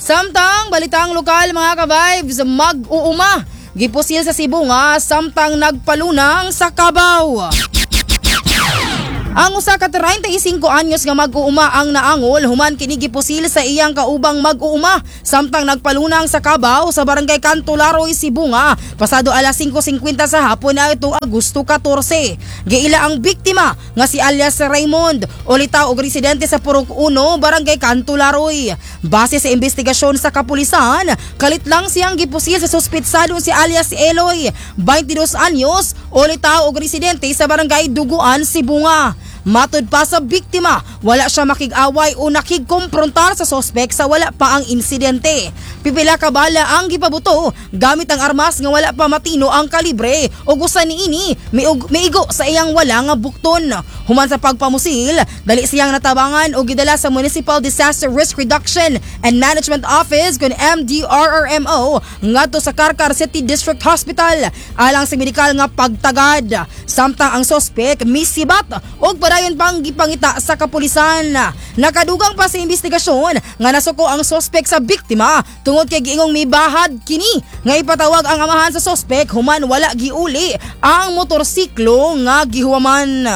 Samtang balitang lokal, mga ka-vibes, mag-uuma gipusil sa Cebu nga samtang nagpalunang sa Kabaw. Ang usa ka 35 anyos nga mag-uuma ang naangol human kini gipusil sa iyang kaubang mag-uuma samtang nagpalunang sa Kabaw sa Barangay Cantularoy, Cebu nga pasado alas 5:50 sa hapon na itong Agosto 14. Giila ang biktima nga si alias Raymond, ulitaw og residente sa Purok 1, Barangay Cantularoy. Base sa investigasyon sa kapulisan, kalit lang siyang gipusil sa suspetsadong si alias Eloy, 22 anyos, ulitaw og residente sa Barangay Duguan, Cebu nga. Matod pa sa biktima, wala siya makig-away o nakigkomprontar sa sospek sa wala pa ang insidente. Pipila ka bala ang gipabuto gamit ang armas nga wala pa matino ang kalibre o usa niini miigo sa iyang wala nga bukton. Human sa pagpamusil, dali siyang natabangan o gidala sa Municipal Disaster Risk Reduction and Management Office kun MDRRMO ngadto sa Carcar City District Hospital alang sa medikal nga pagtagad. Samtang ang sospek misibat og padayon pang gipangita sa kapulisan. Nakadugang pa sa investigasyon nga nasuko ang sospek sa biktima tungod kay giingong mibahad kini nga ipatawag ang amahan sa sospek human wala giuli ang motorsiklo nga gihuwaman.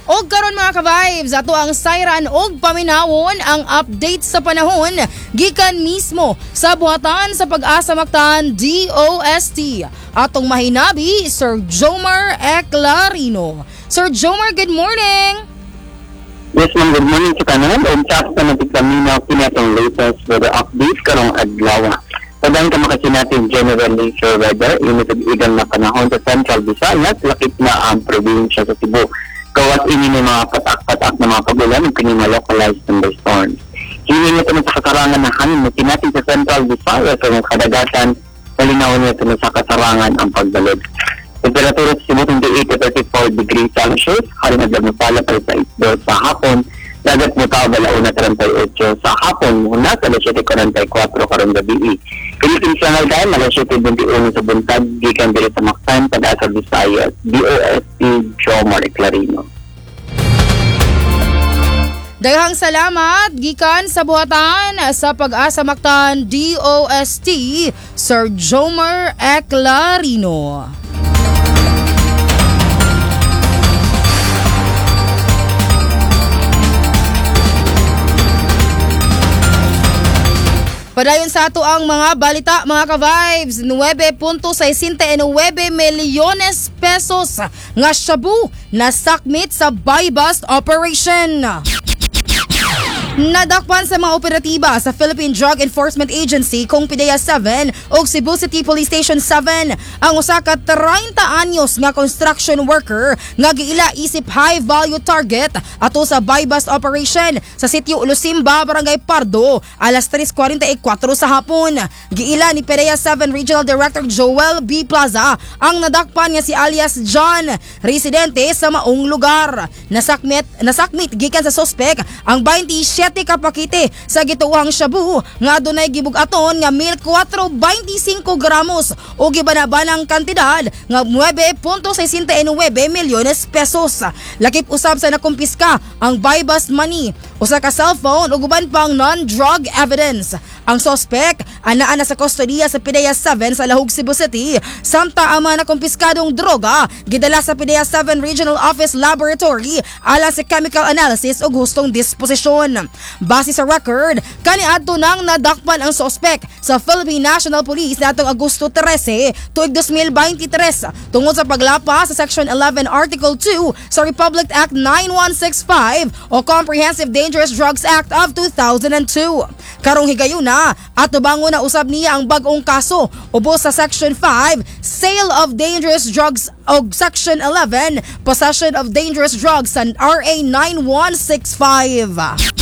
Og karon, mga ka-vibes, ato ang sayran og paminawon ang update sa panahon gikan mismo sa buhatan sa Pag-asa Mactan DOST. Atong mahinabi, Sir Jomar Eclarino. Sir Jomar, good morning! Yes, ma'am. Good morning sa kanan. Unsa sa natigpaminaw kini atong latest weather update karong adlaw. Padayon ka makasinati generally fair weather, init ug igang na panahon sa Central Visayas, lakip na ang probinsya sa Cebu. Gawas ini ng mga patak-patak na mga pagulan ug kini mga localized thunderstorms. Hini nito sa kasarangan na hangin na sinati sa Central Visayas sa mga kadagatan, malinaw nito sa kasarangan ang pagbalod. Temperatura sa Cebu, 28 to 34 degrees Celsius, haring adlaw pala pa sa 2 sa hapon, dagat mo tao balauna 38 sa hapon, muna sa alas 7:44 karong gabi. Philippine Standard Time, alas 7:21 sa buntag, gikan diri sa Mactan, Pag-asa Visayas, DOST, Jomar Clarino. Daghang salamat gikan sa buhatan sa Pag-asa Mactan DOST, Sir Jomar Eclarino. Padayon sa ato ang mga balita, mga ka-vibes, 9.69 milyones pesos nga shabu na sakmit sa buy-bust operation. Nadakpan sa mga operatiba sa Philippine Drug Enforcement Agency kung PDEA 7 o Cebu City Police Station 7 ang usa ka 30 anyos nga construction worker nga giila isip high value target ato sa buy-bust operation sa sitio Lusimba, Barangay Pardo, alas 3:44 sa hapon. Giila ni PDEA 7 Regional Director Joel B. Plaza ang nadakpan nga si alias John, residente sa maong lugar. Nasakmit gikan sa sospek ang 27 ka pakete sa gituohang shabu nga adunay gibug-aton nga 1,425 gramos o gibanabanang kantidad nga 9.69 milyones pesos. Lakip usab sa nakumpiska ang buy-bust money, usa ka cellphone ug uban pang non-drug evidence. Ang sospek anaa na sa kustodiya sa PDEA 7 sa Lahug, Cebu City, samtang ang mga nakumpiskadong droga gidala sa PDEA 7 Regional Office Laboratory alang sa chemical analysis ug hustong disposisyon. Base sa record, kaniadto nang nadakpan ang sospek sa Philippine National Police natong Agosto 13, tuig 2023 tungod sa paglapa sa Section 11 Article 2 sa Republic Act 9165 o Comprehensive Dangerous Drugs Act of 2002. Karong higayuna, atubangon na usab niya ang bag-ong kaso ubos sa Section 5, Sale of Dangerous Drugs, og Section 11, Possession of Dangerous Drugs sa RA 9165.